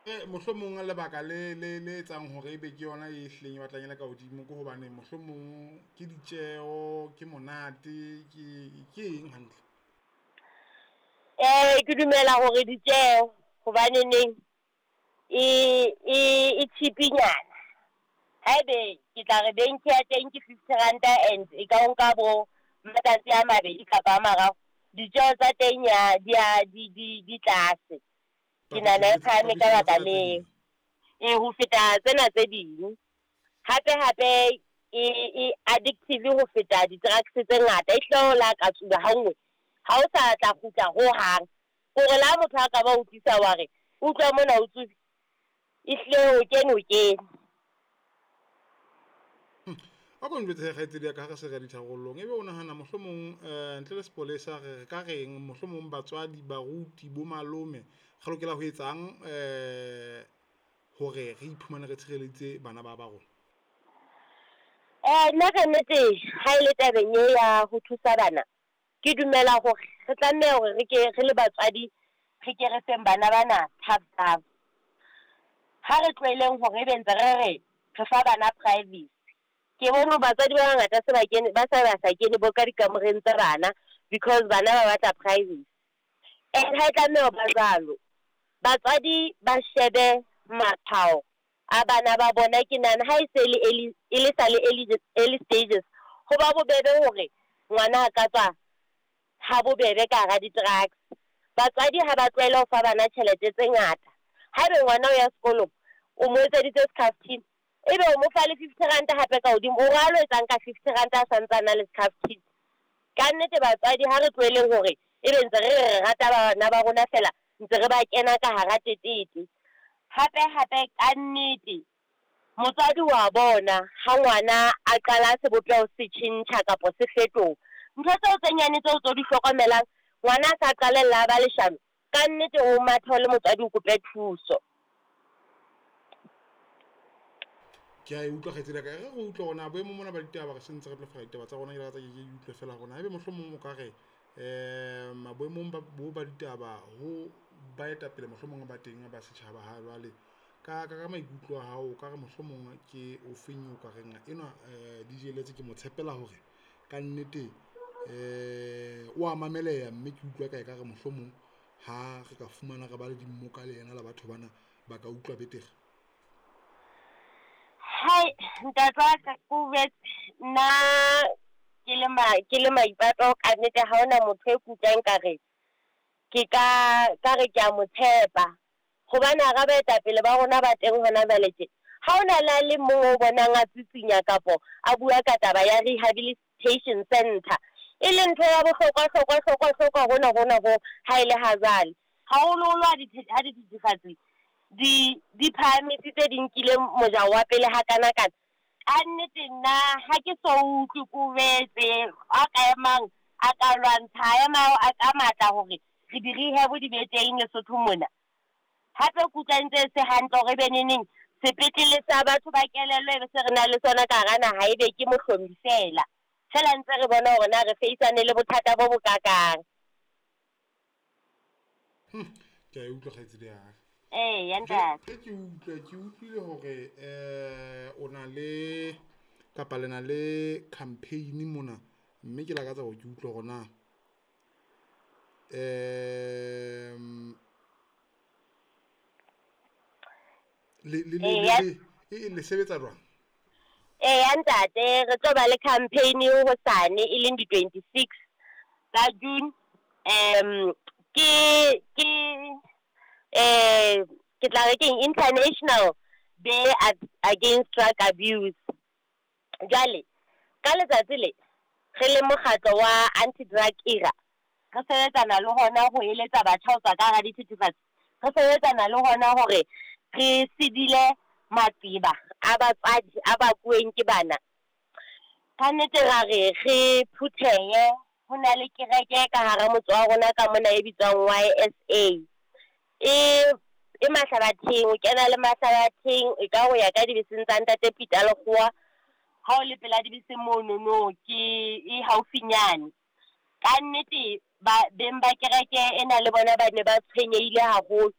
Mohlomong lebaka le etsang hore ebe ke yona e hlileng e batlang e le ka hodimo ke hobane mohlomong ke ditjeho, ke monate, ke eng hantle? Ke dumela hore ditjeho hobaneneng e cheap-nyana. Haebe ke tla re benke ya teng ke fifty ranta and e ka o nka bo matsatsi a mabedi kapa a mararo. Ditjeho tsa teng ya di di tlase. Ke nahana e phahame ka baka leo. Ee, ho feta tsena tse ding. Hape hape e addictive ho feta di-drugs tse ngata. E hlile le ha ka tsuba ha nngwe ha o sa tla kgutla ho hang. Ko re le ha motho a ka ba utlwisa wa re utlwa mona o tsubi, ehlile o kene o kene. A ko njwetse hee kgaitsedi ya ka ha re se re ya ditharollong, ebe o nahana mohlomong ntle le sepolesa re ka reng mohlomong batswadi, baruti, bo malome re lokela ho etsang hore re iphumane re tshireleditse bana ba ba rona? Nna ka nnete ha ele tabeng e ya ho thusa bana, ke dumela hore re tlameha hore re ke re le batswadi re ke re feng bana bana tough love. Ha re tlohelleng hore ebe ntse re re re fa bana privacy. Ke bone batswadi ba bangata se ba kene, ba se ba sa kene bo ka dikamoreng tsa bana because bana ba batla privacy. And ha e tlameha ho ba jwalo. Batswadi ba shebe matshwao a bana ba bona. Ke nahana ha e se le early, e le sa le early, early stages ho ba bobebe hore ngwana a ka tswa ha bobebe ka hara di-drugs. Batswadi ha ba tlohele ho fa bana tjhelete tse ngata. Haeba ngwana o ya sekolong, o mo etseditse skhaftin, ebe o mo fa le fifty ranta hape ka hodimo o re a lo etsang ka fifty ranta a santse a na le skhaftin. Kannete batswadi ha re tlohelleng hore ebe ntse re re rata bana ba rona feela ntse re ba kena ka hara tetete. Hape hape kannete motswadi wa bona ha ngwana a qala sebopeho se tjhentjha kapa se fetoha. Ntho tseo tse nyane tseo tse o di hlokomelang ngwana a sa qalella a ba leshano, kannete o mathe o le motswadi o kope thuso. Ke a e utlwa kgaitsedi ya ka, e re re utlwe hore na boemong bona ba ditaba re sentse re tlo fela ditaba tsa rona, ke lakatsa ke ke utlwe feela hore na ebe mohlomong o ka re boemong ba bo ba ditaba ho baetapele mohlomong ba teng ba setjhaba ha jwale. Ka maikutlo a hao, o ka re mohlomong ke o feng o ka reng enwa DJ Letse ke mo tshepela hore kannete o a mameleha, mme ke utlwa ka ekare mohlomong ha re ka fumana re ba le dimmoka le yena le batho bana ba ka utlwa betere. Hai ntate wa ka ko jwetse nna ke le ke le Maipato ka nnete ha hona motho e ke utlwang nkare ke ka ka re kea mo tshepa. Hobane hara baetapele ba rona ba teng hona jwale tje, ha hona le a le mong o bonang a tsitsinya kapo a bua ka taba ya rehabilitation centre. E leng ntho ya bohlokwa hlokwa hlokwa hlokwa hona hona ho ha ele ha jwale. Haholoholo ha ha dithethefatsi di phahamisitse di nkile mojao wa pele hakana kana. Kannete nna ha ke so utlwe ko jwetse a ka emang a ka lwantsha, a ema ka matla hore re di-rehab di be teng Lesotho mona. Hape ke utlwa ntse se hantle hore ebe neneng sepetlele sa batho ba kelello e be se re nang le sona ka hara naha, ebe ke Mohlomi feela. Feela ntse re bona hore na re face-ane le bothata bo bokakang. Ke a e utlwa kgaitsedi ya ka. Eya ntate. Ke utlwe ke utlwile hore o na le kapa le na le campaign mona, mme ke lakatsa hore ke utlwe hore na le sebetsa jwang? Eya ntate, re tlo ba le campaign hosane e leng di-26 tsa June. Ke tla re keng International Day Against Drug Abuse. Jwale ka letsatsi le re le mokgatlo wa Anti Drug Era, re sebetsana le hona ho eletsa batjha ho tswa ka hara dithethefatsi. Re sebetsana le hona hore re sedile maqeba a batswadi a bakuweng ke bana. Ka nnete ra re re phuthehe, ho na le kereke ka hara motse wa rona ka mona e bitswang Y_S_A. E Mahlabatheng, o kena le Mahlabatheng e ka ho ya ka dibeseng tsa ntate Peter Lekgowa. Ha o le pela dibese monono ke e haufinyane. Ka nnete ba beng ba kereke ena le bona ba ne ba tshwenyehile haholo.